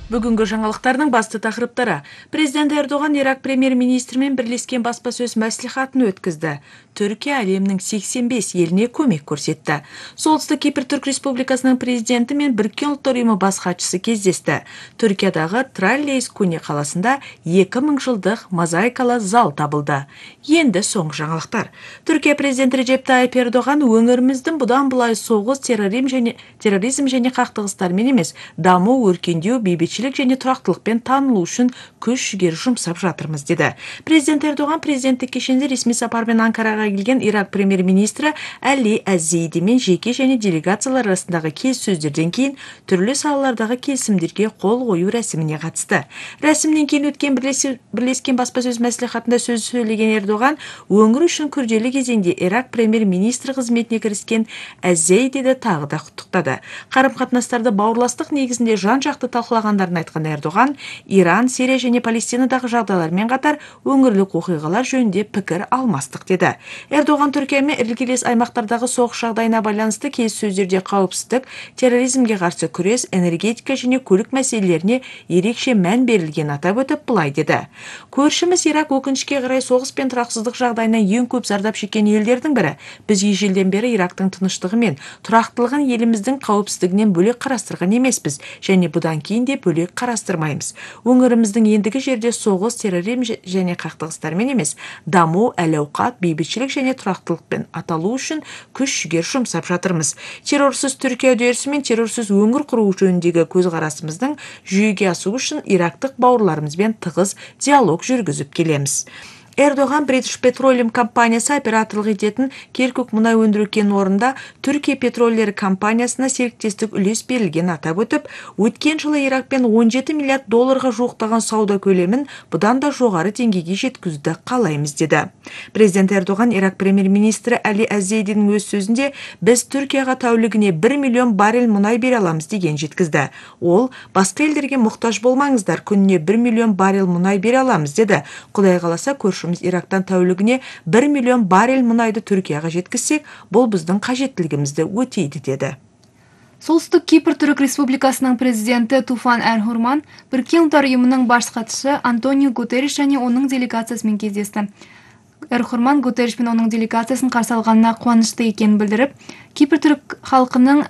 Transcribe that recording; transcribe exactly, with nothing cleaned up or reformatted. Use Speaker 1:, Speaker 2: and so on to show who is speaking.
Speaker 1: Бүгүнкү жаңылыктардын басты тақырыптары. Президент Эрдоган Ирак премьер-министри менен бирлешкен баспасөз маслихатын өткүздү. Түркия әлемнин сексен беш элине көмөк көрсөттү. Солтүстүк Кипр Түрк Республикасынын президенти менен Бириккен Улуттар уюму баш катчысы кездешти. Түркиядагы Траллейс Куни каласында эки миң жылдык мозаикалуу зал табылды. Энди соңку жаңылыктар. Түркия президенти Режеп Тайип Эрдоган өңүрүбүздүн будан булай согуз, терроризм және терроризм және кактыгыстар менен эмес, дамуу, өркүндүү, бейбитчилик және турактылыкпен таанылуу үчүн күч жигер жумсап жатырмыз деди. Президент Эрдоган президенттик кишинде ресми сапар менен Анкарага келген Ирак премьер-министри Али Аз-Зейди менен жеке және делегациялар арасындагы келиссөздөрдөн кийин түрлүү салалардагы келисимдерге кол коюу расимине катышты. Расимден кийин өткөн бирлешкен баспасөз маслихатында сөз сөйлөгөн Эрдоган өңүр үчүн күрделүү кезеңде Ирак премьер-министри кызметине киришкен Аз-Зейдиди тагы да куттуктады. Карым-катнаштарды бауырластык негизинде жан-жакты талкуулагандарын айткан Эрдоган Иран, Сирия және Палестинадагы жагдайлар менен катар өңүрлүк окуйгалар жөнүндө пикир алмастык деди. Эрдоган Түркия менен иргилес аймактардагы согуш жагдайына байланыштуу келиссөздөрдө кауіпсіздік, терроризмге каршы күрес, энергетика және көлүк маселелерине ерекше мән берилгенин атап өтүп булай деди. Көршүбүз Ирак өкүнүчкө карай согуш пен тураксыздык жагдайынан эң көп зардап шеккен элдердин бири. Биз ежелден бери Ирактын тынычтыгы менен турактуулугун элибиздин кауіпсіздигинен бөлөк карастырган эмеспиз және будан кийин де бөлөк карастырмайбыз. Өңүрүбүздүн эндиги жерде согуш, терроризм және кактыгыстар менен эмес, дамуу, әл-аукат, бейбитчилик және турактылыкпен аталуу үчүн күч жигер жумсап жатырмыз. Террорсуз Түркия үдөрүсү менен террорсуз өңүр куруу жөнүндөгү көз карашыбыздын жүзөгө асуу үчүн ирактык бауырларыбыз менен тыгыз диалог жүргүзүп келебиз. Эрдоган British Petroleum компаниясы операторлук этетін Керкук мунай өндүрүү кен орнунда Түркия петролдери компаниясына сериктестик үлес берилгенин атап өтүп, өткөн жылы Иракпен он жети миллиард долларга жууктаган сауда көлөмүн будан да жогору деңгейге жеткизүүнү каалайбыз деди. Президент Эрдоган Ирак премьер-министри Али Аз-Зейдинин өз сөзүндө биз Түркияга тәулүгүнө бир миллион баррель мунай бере алабыз деген жеткизди. Ол башка элдерге муктаж болмаңыздар, күнүнө бир миллион баррель мунай бере алабыз деди. Кудай кааласа көршү Ирактан тәулүгүнө бир миллион баррель мунайды Түркияга жеткизсек, бул биздин кажеттилигибизди өтөйдү деди.
Speaker 2: Солтүстүк Кипр Түрк Республикасынын президенти Туфан Эр-Хурман Бириккен Улуттар уюмунун баш катчысы Антонио Гутерриш және онун делегациясы менен кездешти. Эр-Хурман Гутерриш менен онун делегациясын каршы алганына кубанычты экенин билдирип, Кипр түрк халкынын